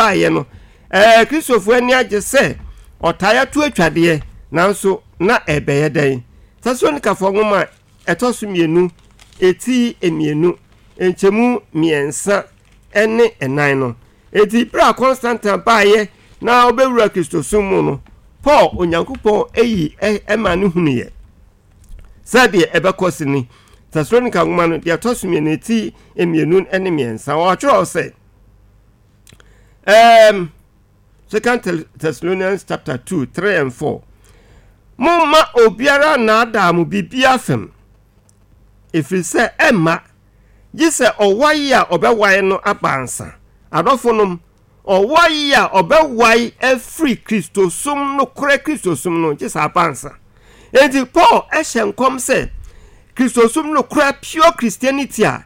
baeɛ no, ɛɛ Kristofoɔ ani agye sɛ ɔtae ato atwadeɛ, nanso na ɛbɛyɛ dɛn? Tesalonikafoɔ nwoma a ɛtɔ so mmienu, eti mmienu, nkyɛmu mmiɛnsa ne ɛnan no. Enti berɛ a Constantine baeɛ na ɔbɛwura Kristosom mu no, Paul Onyankopɔn ayi ɛma no hunuiɛ sɛdeɛ ɛbɛkɔ so ni. Tesalonika nwoma no deɛ ɛtɔ so mmienu ti mmienu ne mmiɛnsa wɔatwerɛ sɛ um, Second Thessalonians chapter 2, 3 and 4. Momma obiara nnaadaa mo biribiara fam, ɛfiri sɛ ɛmma gye sɛ ɔwae a ɔbɛwae no aba ansa. Adɔfonom, ɔwae a ɔbɛwae afiri Kristosom, nokorɛ Kristosom no, gye sɛ aba ansa. Enti Paul hyɛ nkɔm sɛ Kristosom nokorɛ, pure Christianity a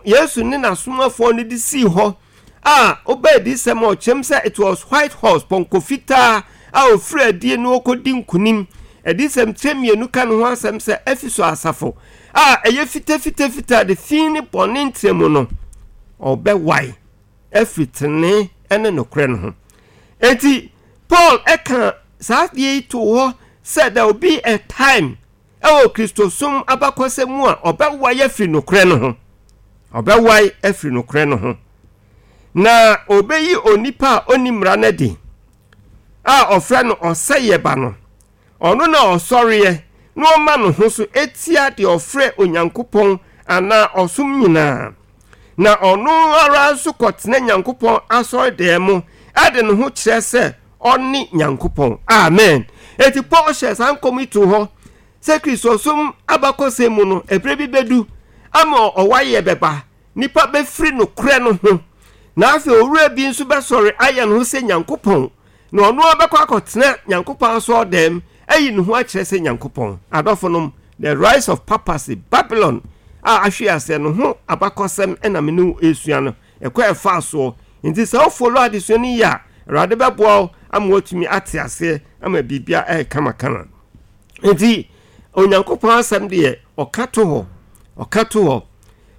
Yesu ne n'asomafoɔ no de sii hɔ a woba adiyisɛm a ɔkyerɛm sɛ it was white horse, pɔnkɔ fitaa a ɔfiri adie na ɔkɔdi nkonim. Adiyisɛm kyerɛ mmienu ka ne ho asɛm sɛ Efeso asafo a ɛyɛ fitafitafita de fi ne bɔne ntrɛ mu no, ɔbɛwae afiri tenenee ne nokorɛ no ho. Enti Paul ɛka saa adeɛ yi too hɔ sɛ there will be a time Wɔ Kristosom abakɔsɛm mu a ɔbɛwae afiri nokorɛ no ho. Ɔbɛwae afiri nokorɛ no ho. Na ɔbɛyi onipa a ɔnni mmara no adi, a ɔfrɛ no ɔsɛeɛ ba no. Ɔno na ɔsɔreɛ na ɔma ne ho so tia deɛ ɔfrɛ Onyankopɔn anaa ɔsom nyinaa. Na ɔno ara nso kɔtena Nyankopɔn asɔredan mu de ne ho kyerɛ sɛ ɔne Nyankopɔn. Amen. Enti Paul hyɛɛ saa nkɔm yi too hɔ sɛ Kristosom abakɔsɛm mu no, ɛberɛ bi bɛdu ama ɔwaeɛ bɛba, nnipa bɛfiri nokorɛ no ho, na afei owura bi nso bɛsɔre ayɛ ne ho sɛ Nyankopɔn, na ɔno ara bɛkɔ akɔtena Nyankopɔn asɔɔdɛm ayi ne ho akyerɛ sɛ Nyankopɔn. Adɔfonom, the rise of papacy, Babylon a ahwe aseɛ no ho abakɔsɛm na me ne wo resua no. Ɛkwan a ɛfaa soɔ. Nti sɛ wo follow adesua no yie a, Awurade bɛboa wo ama woatumi ate aseɛ ama biribia ayɛ kamakama. Nti Onyankopɔn asɛm deɛ ɔka to hɔ, ɔka to hɔ.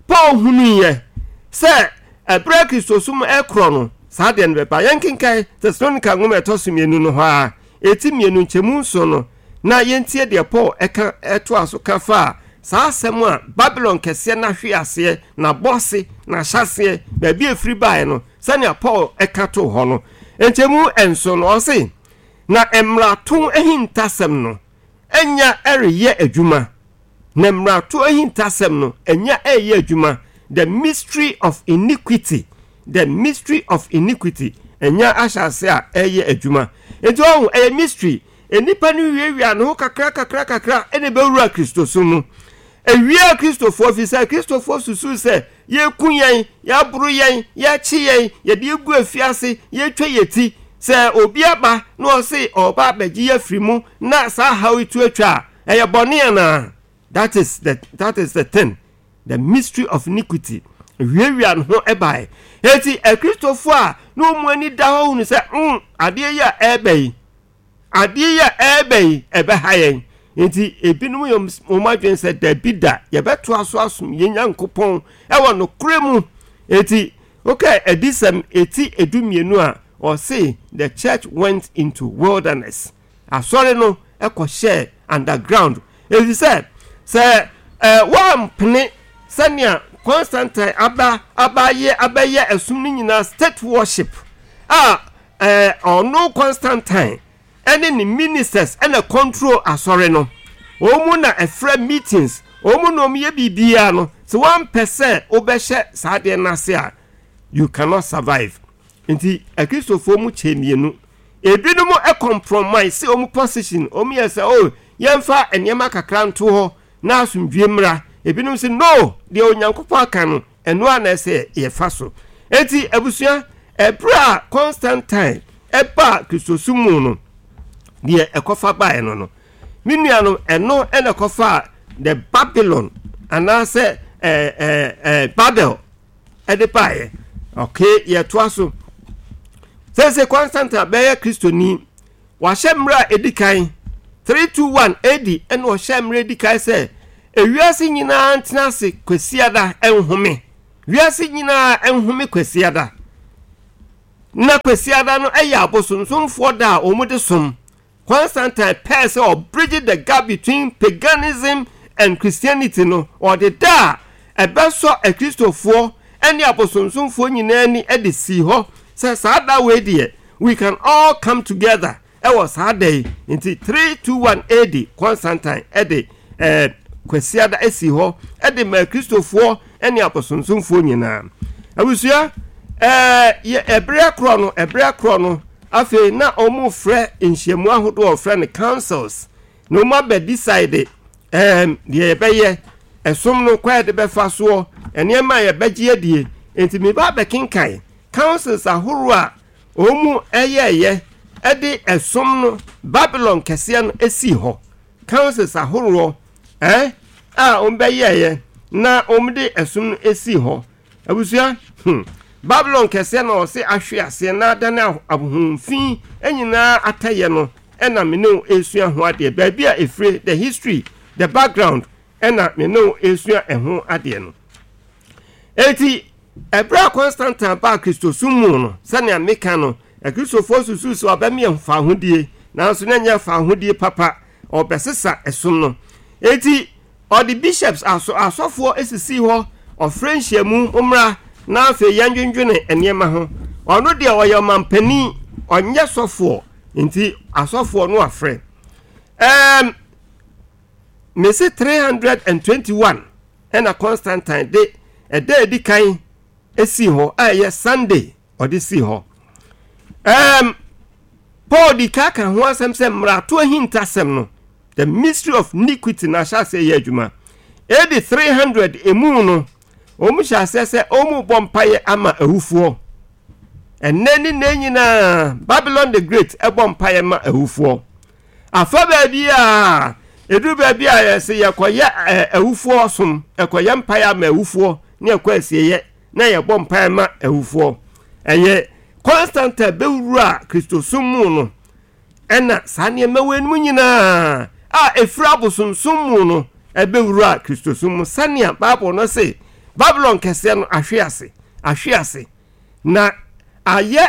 Paul hunuiɛ sɛ ɛberɛ a Kristosom ɛkorɔ no, saa deɛ no bɛba. Yɛnkenkan Tesalonika nwoma ɛtɔ so mmienu no hɔ ara, ɛti mmienu nkyɛmu nson no, na yɛntie deɛ Paul ɛka ɛtoa so ka faa saa asɛm a Babilon kɛseɛ no ahwe aseɛ, n'abɔse, n'ahyɛaseɛ, baabi a ɛfiri baeɛ no, sɛnea Paul ɛka too hɔ no. Nkyɛmu nson no, ɔse, Na mmarato ahintasɛm no anya reyɛ adwuma, na mmarato ahintasɛm no anya reyɛ adwuma, the mystery of iniquity, the mystery of iniquity anya ahyɛ ase a ɛreyɛ adwuma. Nti ɔho, ɛyɛ mystery. Nnipa no wiawia ne ho kakra kakra kakra ɛna ɛbɛwura Kristosom mu. Ɛwiaa Kristofoɔ fi sɛ Kristofoɔ susuu sɛ yɛku yɛn, yɛaboro yɛn, yɛakye yɛn, yɛde yɛgu afiase, yɛtwa yɛ ti. Sɛ obi aba na ɔse ɔreba abɛgye yɛ afiri mu na saa haw yi to atwa a, ɛyɛ bɔne anaa? That is the, that is the thing. The mystery of iniquity. Wiawia ne ho bae. Enti Akristofoɔ a na wɔn ani da hɔ hunu sɛ, mm, adeɛ yi a ɛreba yi, Adeɛ yi a ɛreba yi, ɛbɛha yɛn. Enti ebinom yɛ wɔn adwene sɛ, Dabi da, yɛbɛtoa so asom yɛn Nyankopɔn wɔ nokorɛ mu. Enti wokae Adiyisɛm eti edumienu a, ɔse, The church went into wilderness. Asɔre no kɔhyɛɛ underground. Efisɛ sɛ woampene sɛnea Constantine aba abayɛ abɛyɛ ɛsom no nyinaa state worship a, Ɛɛ ɔno Constantine ɛne ne ministers ɛna control asɔre no. Wɔn mu na ɛfrɛ meetings, wɔn mu na wɔn yɛ biribiara no. Sɛ wɔampɛ sɛ wobɛhyɛ saa adeɛ no ase a, you cannot survive. Nti akristofoɔ mu kyɛ mmienu. Ebinom compromise wɔn position, wɔn yɛ sɛ oh yɛmfa nneɛma kakra nto hɔ na asomdwie mmra. Ebinom sɛ no, deɛ Onyankopɔn aka no, Ɛno ara na ɛsɛ yɛfa so. Enti, abusua, ɛberɛ a Constantine baa Kristosom mu no, deɛ ɛkɔfa baeɛ no no, me nuanom, ɛno na ɛkɔfaa the Babylon anaasɛ ɛɛ ɛɛ ɛɛ Babel ɛde baeɛ. Okay, yɛtoa so. Sɛsɛ Constantine bɛyɛ Kristoni, Wahyɛ mmerɛ a ɛdi kan, 321 AD, ɛna ɔhyɛɛ mmerɛ ɛdi kan sɛ ewiase nyinaa ntena ase Kwasiada nhome. Wiase nyinaa nhome Kwasiada. Na Kwasiada no yɛ abosonsomfoɔ da a wɔde som. Constantine pɛɛ sɛ ɔbridge the gap between paganism and Christianity no, ɔde da a ɛbɛsɔ Akristofoɔ ne abosonsomfoɔ nyinaa ani de sii hɔ sɛ saa da wei deɛ, we can all come together wɔ saa da yi. Nti 321 AD, Constantine de eh, Kwasiada sii hɔ de maa Kristofoɔ ne abosonsomfoɔ nyinaa. Abusua, eh, yɛ ɛberɛ korɔ no, ɛberɛ korɔ no, afei na wɔn frɛ nhyiamu ahodoɔ wɔfrɛ no councils, na wɔn abɛ decide eh, deɛ yɛbɛyɛ, ɛsom no kwan yɛde bɛfa soɔ, nneɛma a yɛbɛgye adie. Nti meba abɛkenkan councils ahoroɔ a wɔn yɛɛyɛ de ɛsom no Babylon kɛseɛ no sii hɔ. Councils ahoroɔ eh, a wɔn bɛyɛɛyɛ na wɔn de ɛsom no sii hɔ. Abusua, hmm, Babylon kɛseɛ na ɔse ahwe aseɛ na adane ahohomfi nyinaa atɛyɛ no ɛna me ne wo ɛresua ho adeɛ. Baabi a ɛfire, the history, the background ɛna me ne wo ɛresua ɛho adeɛ no. Enti, ɛberɛ a Constantine baa Kristosom mu no, sɛnea meka no, Akristofoɔ susuu sɛ ɔbɛmeɛ fawohodie, nanso na ɛnyɛ fawohodie papa, ɔrebɛsesa ɛsom no. Enti, ɔde bishops, aso, asɔfoɔ sisii hɔ, ɔfrɛ nhyiamu, mommra na afei yɛndwendwene nneɛma ho. Ɔno deɛ ɔyɛ ɔmampanin, ɔnyɛ sɔfoɔ, nti asɔfoɔ no afrɛ. Ɛɛm, mese 321 ɛna Constantine de ɛda a edi kan sii hɔ a ɛyɛ Sunday ɔde sii hɔ. Um, Paul di ka ka ho asɛm sɛ mmarato ahintasɛm no, the mystery of iniquity na ahyɛ aseɛ yɛ adwuma. AD 300 emu no, wɔn hyɛ aseɛ sɛ wɔn bɔ mpaeɛ ama awufoɔ. Ɛnnɛ ne nnɛ nyinaa, Babylon the Great ɛbɔ mpaeɛ ma awufoɔ. Afa baabi a, ɛduru baabi a yɛse yɛkɔyɛ awufoɔ som, ɛkɔyɛ mpaeɛ ama awufoɔ ne ɛkɔ asieeɛ na yɛbɔ mpaeɛ ma awufoɔ. Ɛyɛ Constantine bɛwura Kristosom mu no ɛna saa nneɛma wei nom nyinaa a ɛfiri abosomsom mu no ɛbɛwura Kristosom mu sɛnea Bible no se Babylon kɛseɛ no ahwe ase, ahwe ase na ayɛ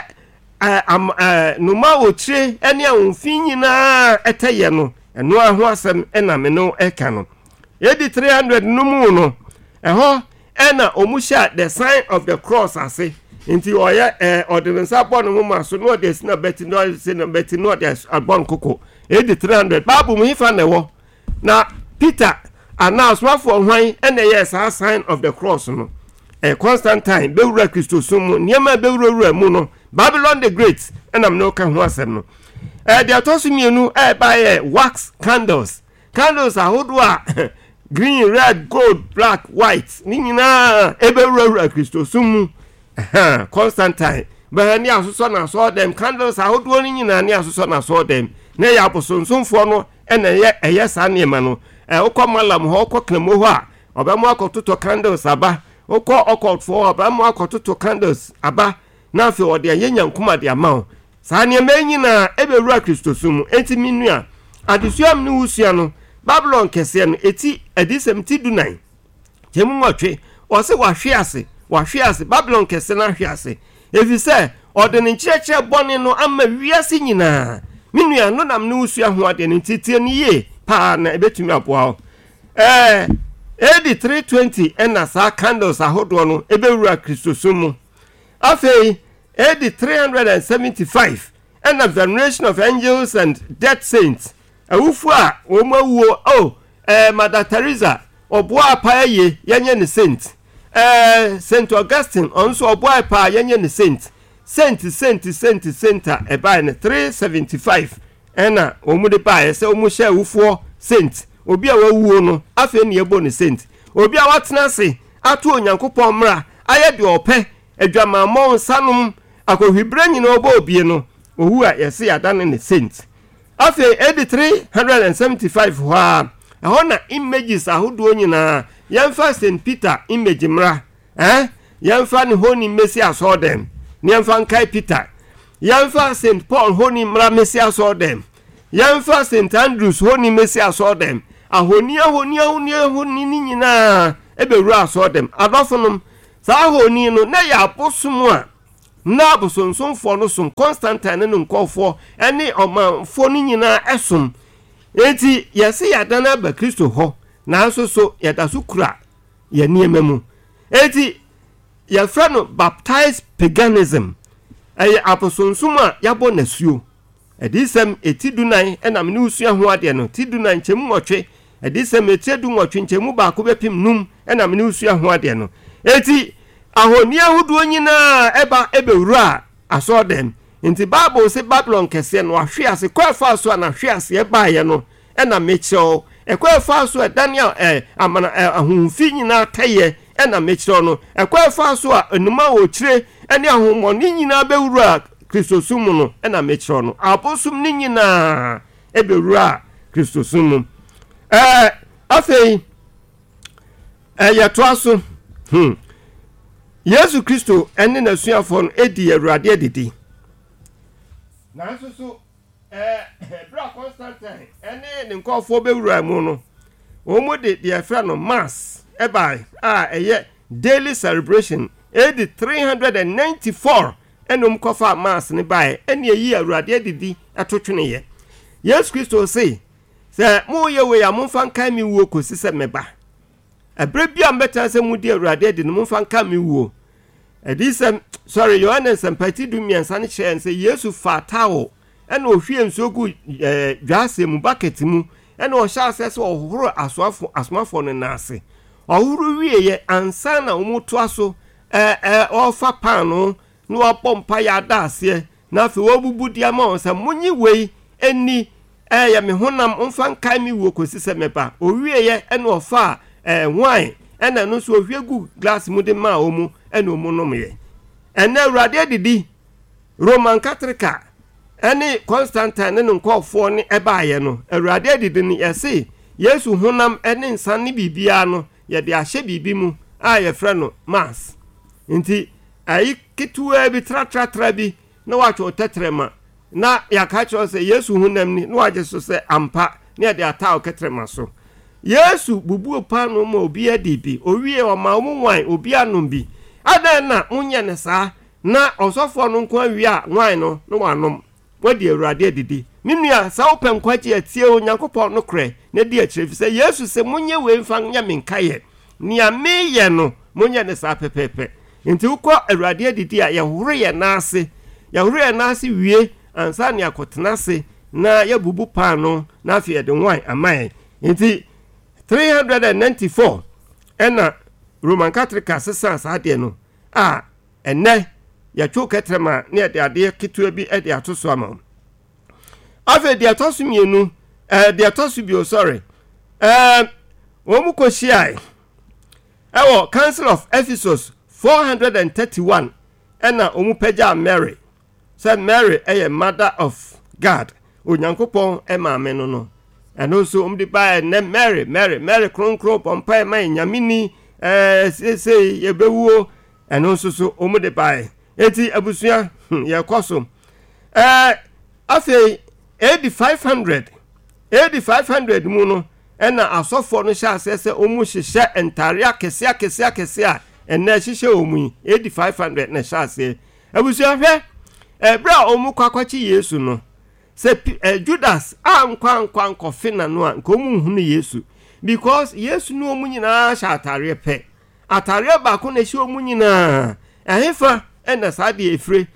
nnomaa a wɔkyire ne ahomfi nyinaa ɛtɛyɛ no, ɛno ara ho asɛm na me ne wo ɛka no. AD 300 no mu no, ɛhɔ ɛna wɔn hyɛ the sign of the cross ase. Nti ɔyɛ ɛɛ ɔde ne nsa bɔ ne moma so na ɔde asi n'abati na ɔde asi n'abati na ɔde abɔ ne koko. AD 300 Bible mu hefa na ɛwɔ? Na Peter anaa asomafoɔ hwan na ɛyɛɛ saa sign of the cross no? Ɛyɛ Constantine bɛwura Kristosom mu, nneɛma a ɛbɛwurawura mu no, Babylon the Great ɛna mene woka ho asɛm no. Ɛɛ deɛ ɛtɔ so mmienu a ɛbaeɛ wax candles, candles ahodoɔ a green, red, gold, black, white ne nyinaa ɛbɛwurawura Kristosom mu. Constantine bɛhɛ ne asosɔ n'asɔɔdɛm candles ahodoɔ no nyinaa ne asosɔ n'asɔɔdɛm na ɛyɛ abosonsomfoɔ no ɛna ɛyɛ ɛyɛ saa nneɛma no. Ɛ wokɔ malam hɔ, wokɔ kramo hɔ a, ɔbɛmo akɔtotɔ candles aba. Wokɔ ɔkɔtfoɔ hɔ, ɔbɛmo akɔtotɔ candles aba. Na afei ɔde ayɛ nyankoma de ama wo. Saa nneɛma yi nyinaa ɛbɛwura Kristosom mu. Enti me nua, adesua a me ne wo sua no, Babylon kɛseɛ no, ɛti Adiyisɛm ti dunan. Kyɛmu nwɔtwe, ɔse wahwe ase, wahwe ase, Babilon kɛse no ahwe ase, efisɛ ɔde ne nkyerɛkyerɛ bɔne no ama wiase nyinaa. Me nua, no nam ne wo sua ho adeɛ no nti tie no yie paa na ɛbɛtumi aboa wo. Ɛɛ, AD 320 ɛna saa candles ahodoɔ no ɛbɛwura Kristosom mu. Afei, AD 375 ɛna veneration of angels and dead saints, awufoɔ a wɔn awuo, oh, ɛɛ, Mother Teresa, Ɔboaa paa ye, yɛnyɛ no saint. Ɛɛ Saint Augustine, ɔno nso ɔboae paa, yɛnyɛ no saint. Saint, saint, saint, saint a ɛbae no, 375 ɛna wɔn de baeɛ sɛ wɔn hyɛ awufoɔ saint. Obi a wawuo no, afei na yɛbɔ no saint. Obi a watena ase ato Onyankopɔn mmara, ayɛ deɛ ɔpɛ, adwamammɔ, nsanom, akɔhwiberɛ nyinaa ɔbɔ obie no, owu a yɛse yɛadane no saint. Afei AD 375 hɔ ara, ɛhɔ na images ahodoɔ nyinaa, yɛmfa St. Peter image mmra, eh? Yɛmfa ne honi mmɛsi asɔɔdɛm, na yɛmfa nkae Peter. Yɛmfa St. Paul honi mmra mmɛsi asɔɔdɛm. Yɛmfa St. Andrews honi mmɛsi asɔɔdɛm. Ahoni, ahoni, ahoni, ahoni ne nyinaa ɛbɛwura asɔɔdɛm. Adɔfonom, saa ahoni no, na ɛyɛ abosom a. Na abosonsomfoɔ no som, Constantine ne ne nkurɔfoɔ ne ɔmanfoɔ no nyinaa som. Enti yɛse yɛadane aba Kristo hɔ, nanso so yɛda so kura yɛn nneɛma mu? Enti yɛfrɛ no baptized paganism. Ɛyɛ abosonsom a yɛabɔ no asuo. Adiyisɛm eti dunan na me ne wo sua ho adeɛ no, ti dunan nkyɛmu nwɔtwe, Adiyisɛm etire dunwɔtwe nkyɛmu baako bɛpem num na me ne wo sua ho adeɛ no. Enti ahoni ahodoɔ nyinaa ɛba ɛbɛwuraa asɔɔdɛm. Nti Bible se Babylon kɛseɛ no ahwe ase, kwan ɛfaa so a n'ahweaseɛ baeɛ no na mekyerɛ wo, ɛkwan ɛfaa so a ɛdane a ɛ amana ɛ ahonhom fi nyinaa tɛeɛ na mekyerɛ wo no, ɛkwan ɛfaa so a nnoma a wɔkyire ne ahonhommɔne nyinaa bɛwuraa Kristosom mu no na mekyerɛ wo no. Abosom no nyinaa bɛwuraa Kristosom mu. Ɛɛ afei yɛtoa so. Hmm. Yesu Kristo ne n'asuafoɔ no dii Awurade adidi. Nanso so Bere a Constantine ne ne nkurɔfoɔ bɛwuraa mu no, wɔde deɛ yɛfrɛ no Mass bae a ɛyɛ daily celebration. AD 394 ɛna wɔn kɔfaa Mass no baeɛ, ɛna ɛyi Awurade adidi to tweneeɛ. Yesu Kristo se, sɛ moreyɛ wei a, momfa nkae me wuo kɔsi sɛ mɛba. Ɛberɛ bi a mobɛtena sɛ modi Awurade adi no, momfa nka me wuo. Adiyisɛm, sɔre, Yohane Nsɛmpa ti 13 no kyerɛ yɛn sɛ Yesu faa towel ɛna ɔhwie nsuo gu ɛɛ dwaase mu, bucket mu, ɛna ɔhyɛ aseɛ sɛ ɔhohoro asoafo asomafoɔ no nan ase. Ɔhohoro wieeɛ ansa na wɔtoa so ɛɛ ɛɛ ɔrefa paanoo na wabɔ mpaeɛ ada aseɛ na afei wabubu de ama wɔn sɛ, Monnye wei nni, ɛyɛ me honam, momfa nkae me wuo kɔsi sɛ mɛba. Ɔwieeɛ ɛna ɔfaa ɛɛ wine, ɛna ɛno nso ɔhwie gu glass mu de maa wɔn, ɛna wɔn nomeɛ. Ɛnnɛ Awurade adidi, Roman Katrika ɛne Constantine ne ne nkurɔfoɔ ne ɛbaeɛ no, Awurade adidi no, yɛse Yesu honam ne nsa ne biribiara no, yɛde ahyɛ biribi mu a yɛfrɛ no mass. Nti ayi ketewaa bi, tratratra bi, na watwe wo tɛtrɛma, na yɛaka akyerɛ wo sɛ Yesu honam ni, na wagye so sɛ ampa, na yɛde ataa wo kɛtrɛma so. Yesu bubuu paanoo ma obiara dii bi, owiee ɔmaa wɔn wine, obiara nom bi. Adɛn na monyɛ no saa? Na ɔsɔfoɔ no nko ara wie a wine no na wanom. Woadi Awurade adidi. Me nua, sɛ wopɛ nkwagye a, tie Onyankopɔn nokorɛ na di akyire, ɛfiri sɛ Yesu se, Monyɛ wei mfa nyɛ me nkaeɛ. Nea meyɛ no, monyɛ no saa pɛpɛɛpɛ. Enti wokɔ Awurade adidi a, yɛhohoro yɛn nan ase. Yɛhohoro yɛn nan ase wie ansa na yɛakɔtena ase na yɛabubu paanoo na afei yɛde wine ama yɛn. Enti 394 ɛna Roman Catholic sesaa saa adeɛ no a ɛnnɛ yɛtwe kɛtrɛma na yɛde adeɛ ketewa bi de ato so ama wo. Afei deɛ ɛtɔ so mmienu, ɛɛ deɛ ɛtɔ so bio, sorry, ɛɛ wɔn mu kɔhyiae ɛwɔ Council of Ephesus 431 ɛna wɔn pagyaa Mary sɛ Mary ɛyɛ Mother of God, Onyankopɔn maame no no. Ɛno nso wɔn de baeɛ nnɛ Mary, Mary, Mary kronkron bɔ mpaeɛ ma yɛn Nyame ni, ɛɛ seesei yɛbɛwuo. Ɛno nso so wɔn de baeɛ. Eti abusua, hmm, yɛkɔ so. Ɛɛ afei AD 500, AD 500 mu no ɛna asɔfoɔ no hyɛ aseɛ sɛ wɔn hyehyɛ ntaare akɛseɛ akɛseɛ akɛseɛ a ɛnɛ ɛhyehyɛ wɔn yi. AD 500 na ɛhyɛ aseɛ. Abusua hwɛ, ɛberɛ a wɔn kɔ akɔkye Yesu no, sɛ eh, Judas ankɔ ankɔ ankɔfe n'ano a, nka wɔn nhunu Yesu. Because Yesu ne wɔn nyinaa hyɛ ataareɛ pɛ. Atareɛ baako na ɛhyɛ wɔn nyinaa. Ɛhefa na saa deɛ ɛfire?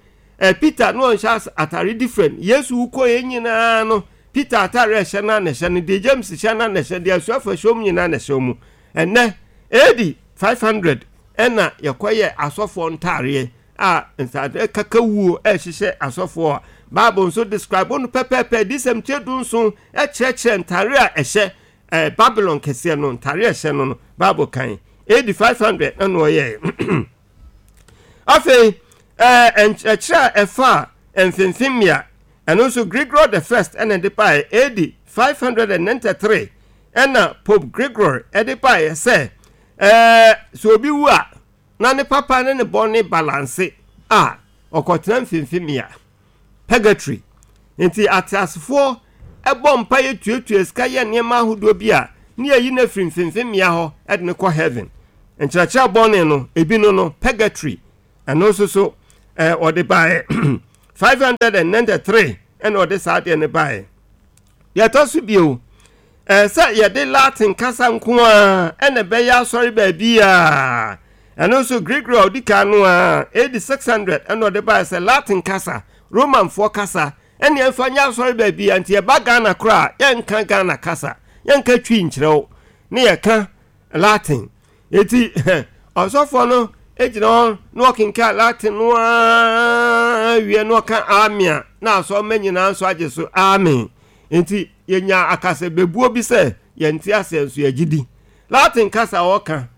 Eh, Peter no ɔnhyɛ atare different. Yesu wokɔ yɛn nyinaa no, Peter atare a ɛhyɛ no na ɛhyɛ no, deɛ James hyɛ no na ɛhyɛ, deɛ asuafo ɛhyɛ wɔn nyinaa na ɛhyɛ wɔn. Ɛnɛ, AD 500 ɛna yɛkɔyɛ asɔfoɔ ntareɛ a ntadeɛ kakawuo ɛhyehyɛ asɔfoɔ a Bible nso describe no pɛpɛɛpɛ, Adiyisɛm tire dunson ɛkyerɛkyerɛ ntare a ɛhyɛ Eh, Babylon kɛseɛ no, ntare a ɛhyɛ no no, Bible kan. AD 500 na na ɔyɛɛ. Afei, eh, nkyerɛkyerɛ a ɛfa mfimfini mmea, ɛno nso Gregory the First ɛna ɛde baeɛ, AD 593 ɛna Pope Gregory ɛde baeɛ sɛ, eh, sɛ obi wu a, na ne papa ne ne bɔne balanse a, ɔkɔtena mfimfini mmea. Purgatory. Enti ateasefoɔ bɔ mpaeɛ tuatua sika yɛ nneɛma ahodoɔ bi a ne yɛyi no afiri mfimfini hɔ de no kɔ heaven. Nkyerɛkyerɛ bɔne no, ebi no no, purgatory. Ɛno nso so, Ɔde baeɛ 593 ɛna ɔde saa adeɛ no baeɛ. Deɛ ɛtɔ so bio, ɛɛ sɛ yɛde Latin kasa nko ara ɛna ɛbɛyɛ asɔre baabi a ɛno nso Gregory a ɔdi kan no a AD 600 ɛna ɔde baeɛ sɛ Latin kasa, Romanfoɔ kasa ɛne ɛmfa nyɛ asɔre baabi a nti yɛba Ghana koraa yɛnka Ghana kasa, yɛnka Twi nkyerɛ wo ne yɛka Latin. Eti ɔsɔfoɔ no gyina hɔ na ɔkenkan Latin no ara wie na ɔka amen a, na asɔremma nyinaa nso agye so amen. Enti yɛnya akasabebuo bi sɛ yɛnte aseɛ nso yɛgye di. Latin kasa a ɔka,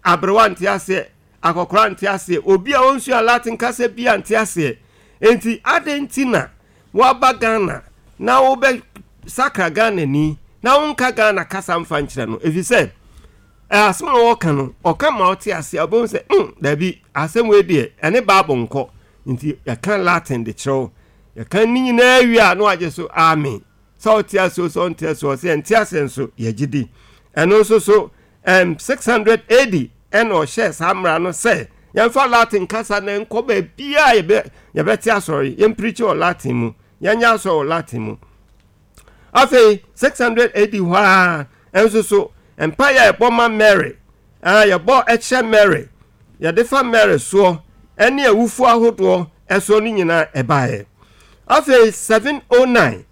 aberewa nte aseɛ, akɔkora nte aseɛ, obi a ɔnsua Latin kasa bi a nte aseɛ. Enti adɛn nti na woaba Ghana na wobɛ sakra Ghanani na wonka Ghana kasa mfa nkyerɛ no? Ɛfiri sɛ asɛm a wɔka no, ɔka ma ɔte aseɛ a, wobɛhu sɛ daabi, asɛm wei deɛ ɛne Bible nkɔ. Nti yɛka Latin de kyerɛ wo. Yɛka ne nyinaa wie a na wagye so amen. Sɛ ɔte ase o, sɛ ɔnte ase o, ɔsɛ yɛnte ase nso yɛgye di. Ɛno nso so 600 AD ɛna ɔhyɛɛ saa mmara no sɛ yɛmfa Latin kasa na nkɔ baabiara yɛbɛ yɛbɛte asɔre, yɛmpirikyi wɔ Latin mu, yɛnyɛ asɔre wɔ Latin mu. Afei 600 AD hɔ ara nso so mpaeɛ a yɛbɔ ma Mary, a yɛbɔ kyerɛ Mary, yɛde fa Mary soɔ ɛne awufoɔ ahodoɔ ɛsoɔ no nyinaa ɛbaeɛ. Afei 709.